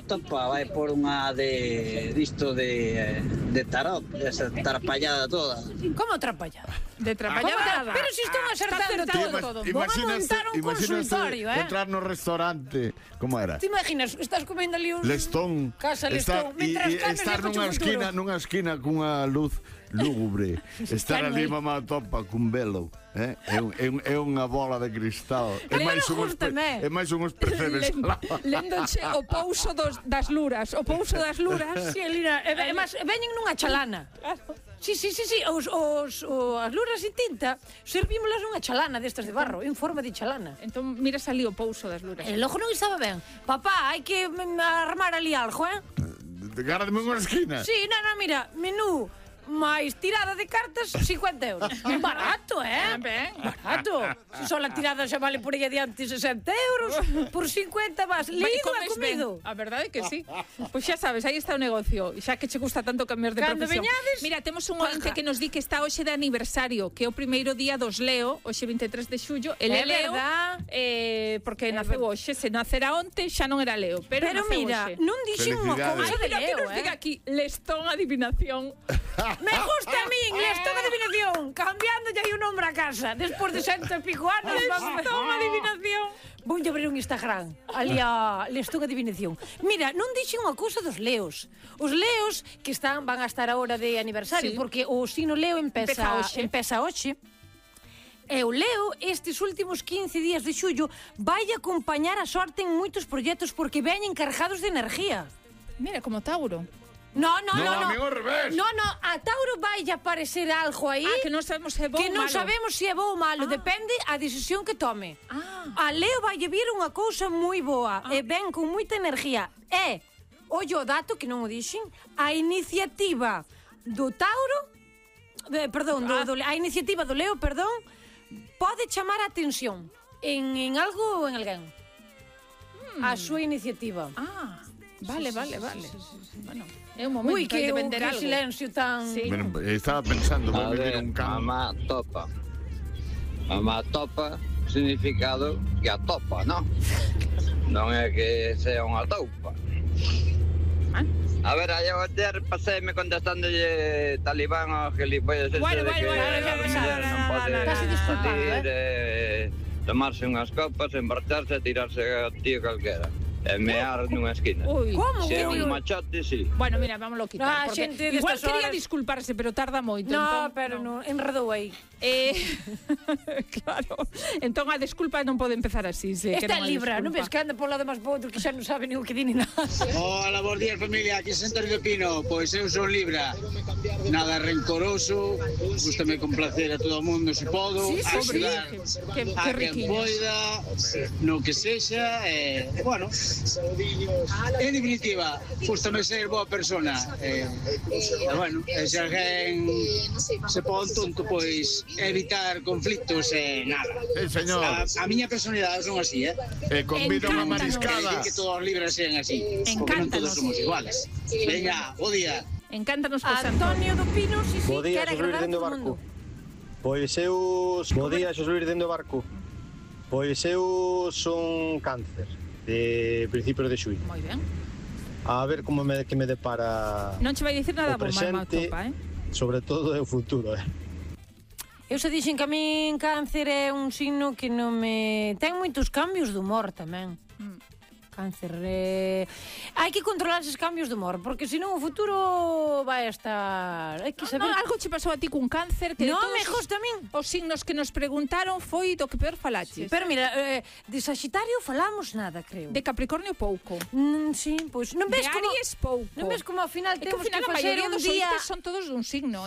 topa vai por unha disto de tarot, esa trapallada toda. Como trapallada? De trapallada. Pero si están acertando todo. Van a montar un consultorio, entrar no restaurante, como era? Te imaginas, estás comendo ali un... Lestón. Casa Lestón. E estar nunha esquina cunha luz lúgubre. Estar ali mamá topa cun velo. É unha bola de cristal. É máis unhos percebes. Lendoche o pouso das luras. O pouso das luras. Si, Elina, veñen nunha chalana. Si, as luras de tinta servímolas nunha chalana destas de barro, en forma de chalana. Entón miras ali o pouso das luras. E logo non estaba ben. Papá, hai que armar ali algo, Gárdame unha esquina. Si, mira, menú máis tirada de cartas, 50 euros. Barato, Barato. Se só a tirada xa vale por aí adiante 60 euros, por 50 vas lido e comido. A verdade é que sí. Pois xa sabes, aí está o negocio. Xa que che gusta tanto cambiar de profesión. Mira, temos un ointe que nos di que está hoxe de aniversario, que é o primeiro día dos Leo, hoxe 23 de xullo. Ele é Leo, porque naceu hoxe. Se nacera onte, xa non era Leo. Pero mira, non dixen unha cousa de Leo, Nos diga aquí, Lestón adivinación. Me gusta a min, Lestón adivinación. Cambiándolle aí o nombre a casa. Despois de 100 e pico anos. Lestón adivinación. Vou abrir un Instagram. Ali a Lestón adivinación. Mira, non dixen unha cousa dos Leos. Os Leos que van a estar agora de aniversario, porque o signo Leo empeza hoxe. E o Leo, estes últimos 15 días de xullo, vai acompañar a sorte en moitos proxectos porque veñen cargados de energía. Mira, como Tauro. No, amigo, ao revés. No, a Tauro vai a aparecer algo aí. Que non sabemos se é bo ou malo. Que non sabemos se é bo ou malo, depende a decisión que tome. A Leo vai vir unha cousa moi boa e ven con moita energía. Ollo o dato, que non o dixen, a iniciativa do Tauro, a iniciativa do Leo, pode chamar a atención en algo ou en alguén. A súa iniciativa. Vale. Bueno, é un momento de vender algo. Silencio tan... Bueno, estaba pensando, vou vivir un campo. Mamá topa, significado que atopa, non? Non é que sea unha topa. A ver, aí ayer paséme contestándolle talibán ao gilipollas ese de que non pode salir, tomarse unhas copas, emborcharse e tirarse a tío calquera. E mear nunha esquina. Como? Se é un machote, sí. Bueno, mira, vámoslo quitar. Igual quería disculparse, pero tarda moito. No, pero non, enredou aí. Claro. Entón a disculpa non pode empezar así. Esta é Libra, non ves que anda por lado máis por outro que xa non sabe nin o que di ni nada. Hola, bons días familia, aquí Santorio de Pino. Pois eu son Libra. Nada rencoroso, gústame complacer a todo o mundo se podo, axudar a quen poida, no que sexa, bueno, en definitiva, gústame ser boa persona. Bueno, se alguén se pon tonto, pois evitar conflitos e nada. Señor. A miña personalidade son así, convido unha mariscada. Que todos os libres sean así, porque non todos somos iguales. Veña, bo día. Encántanos que Antonio do Pino, bo día, Xosluís dentro do barco. Pois eu... Bo día, Xosluís dentro do barco. Pois eu son Cáncer, de principios de xullo. Moi ben. A ver como que me depara non che vai dicir nada o presente, presente, sobre todo é o futuro, Eu se dixen que a min Cáncer é un signo que non me... Ten moitos cambios de humor tamén. Cáncer. Hai que controlar esos cambios de humor, porque senón o futuro vai estar... Hai que saber... algo che pasou a ti cun Cáncer que non me gusta a min. Os signos que nos preguntaron foi do que peor falaches. Pero mira, de Sagitario falamos nada, creo. De Capricornio pouco. Sí, pois non ves como... De Aries pouco. Non ves como ao final temos que facer un día... Son todos dun signo,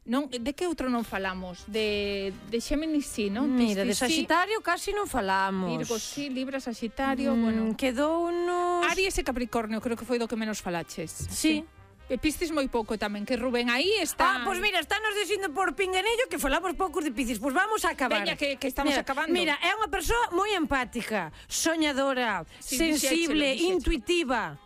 Non, de que outro non falamos? De Xéminis, sí, non? Mira, de Sagitario casi non falamos. Virgo, sí, Libra, Sagitario, bueno. Quedou unos... Aries e Capricornio, creo que foi do que menos falaches. Sí. E Piscis moi pouco tamén, que Rubén aí está... Pois mira, estános dicindo por pinganello que falamos poucos de Piscis. Pois vamos a acabar. Veña, que estamos acabando. Mira, é unha persoa moi empática, soñadora, sensible, intuitiva.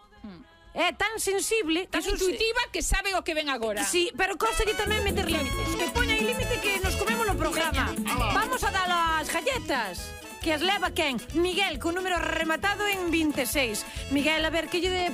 É tan sensible, tan intuitiva que sabe o que ven agora. Sí, pero consegue tamén meter límites. Que poña aí límite que nos comemos no programa. Vamos a dar as galletas. Que as leva quen? Miguel, con número rematado en 26. Miguel, a ver, que lle